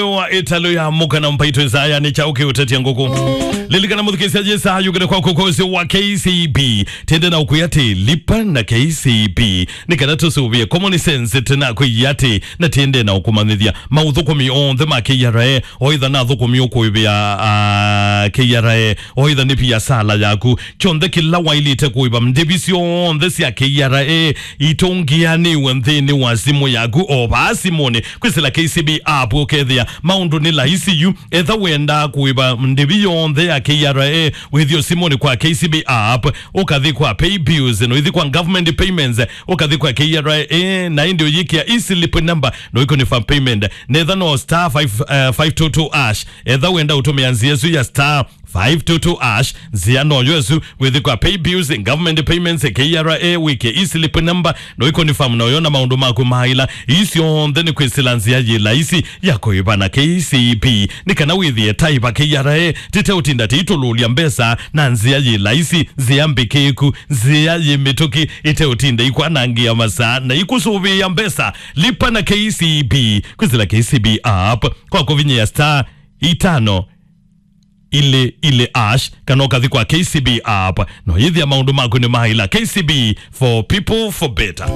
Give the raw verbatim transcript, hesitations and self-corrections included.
Wa ĩtalũ ya mũka na mpaito ĩsaya nĩ kyaũ kĩũtetya ngũkũ. Lilikana mũthukĩĩsya yĩsa yũkĩte kwa kũkũsĩ wa K C B. Tĩende na ũkwĩa atĩ lipa na K C B. Nĩ kana tũsũvĩe common sense tena kwĩya atĩ na tĩende na ũkũmanyĩthya maũthũkũmi onthe ma K R A, o itha na athũkũmi ũkũĩvĩa, ah, K R A, o itha nĩ viasala yaku. Kyonthe kĩla waĩlĩte kũĩva ndĩvi syonthe sya K R A itũngĩanĩwe nthĩnĩ wa simũ yaku o vaa simũnĩ. Kwĩsĩla K C B app ũkethĩa maũndũ nĩ laisi yu. Etha wenda kũĩva ndĩvi yonthe ya K R A, wĩthi o simũnĩ kwa K C B app, ũkathi kwa pay bills, no ithi kwa government payments, ũkathi kwa K R A, na ĩndĩ ũyĩkĩa e-slip number, no iconfirm payment. Netha no star five, eh, five two two hash. Etha wenda ũtũmĩa nzĩa ĩsu ya star five two two hash, nzĩa noyo ĩsu, wĩthi kwa pay bills, government payments, K R A, wĩkĩe e-slip number, no iconfirm noyo na maũndũ maku maila. Ii syonthe nĩ kwĩsĩla nzĩa yĩ laisi ya kũĩva na K C B. Nĩ kana wĩthĩe taiva K R A tĩteũtinda tĩitũlũlya mbesa na nzĩa yĩ laisi, nzĩa mbĩkĩĩku, nzĩa yĩ mĩtũkĩ, ĩteũtinda ikwanangĩa masaa na ikũsũvĩĩa mbesa. Lipa na K C B. Kwĩsĩla K C B app kwa kũvinyĩa star itano ilĩ ilĩ hash, kana ũkathi kwa K C B app. No yĩthĩa maũndũ maku nĩ maila. K C B, for people, for better.